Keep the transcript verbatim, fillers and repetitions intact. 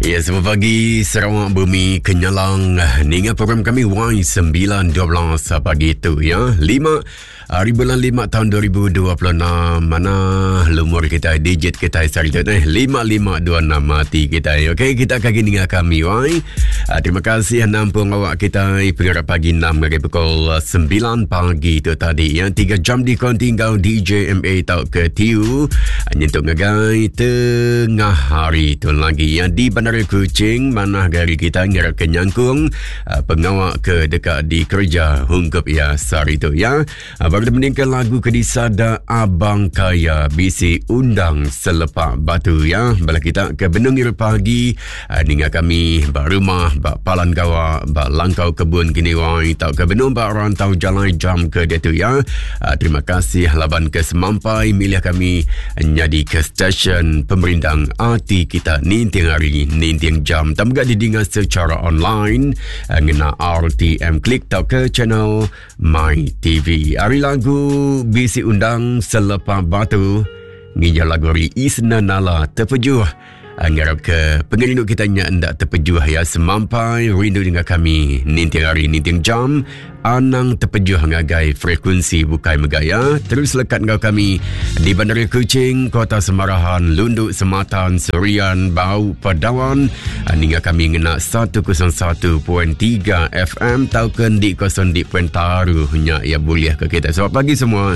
Ya, selamat pagi Sarawak Bumi Kenyalang. Ninga program kami Y sembilan dua belas pagi itu ya. lima hari bulan lima tahun dua ribu dua puluh enam. Mana lumur kita, digit kita hari itu eh lima lima dua enam mati kita. Okey, kita akan ninga kami Y. Terima kasih nampung awak kita pengarap pagi enam hari pukul sembilan pagi itu tadi ya. tiga jam di kontinggal D J M A tau ke T U. Nyentuk ngagai tengah hari itu lagi ya di Bandar Kuching, mana gari kita ngira kenyangkung pengawak ke dekat di kerja hungkup ya sehari itu ya. Baru meninggal lagu ke disada Abang Kaya B C Undang Selepak Batu ya. Bala kita ke Benung Iru pagi ninga kami ba rumah ba Palan Gawa ba Langkau Kebun kini wai tau ke Benung ba Rantau Jalai jam ke dia tu ya. Terima kasih laban ke semampai milih kami nyadi ke stesen pemerindang hati kita ninting hari ninting jam. Tambah didengar secara online ngena R T M Klik tau ke channel My T V. Hari lagu B C Undang Selepak Batu nginjal lagu hari Isna Nala Terpejuh. Ngarap ke pengerindu kita nya ndak terpejuh ya, semampai rindu dengan kami ninting hari ninting jam. Anang terpejuh ngagai frekuensi bukai megaya. Terus lekat ngau kami di Bandar Kuching, Kota Semarahan, Lunduk, Sematan, Serian, Bau, Padawan. Ninga kami ngena seratus satu titik tiga F M tauken di kosong di Pentaruhnya ya boleh ke kita. Selamat pagi semua.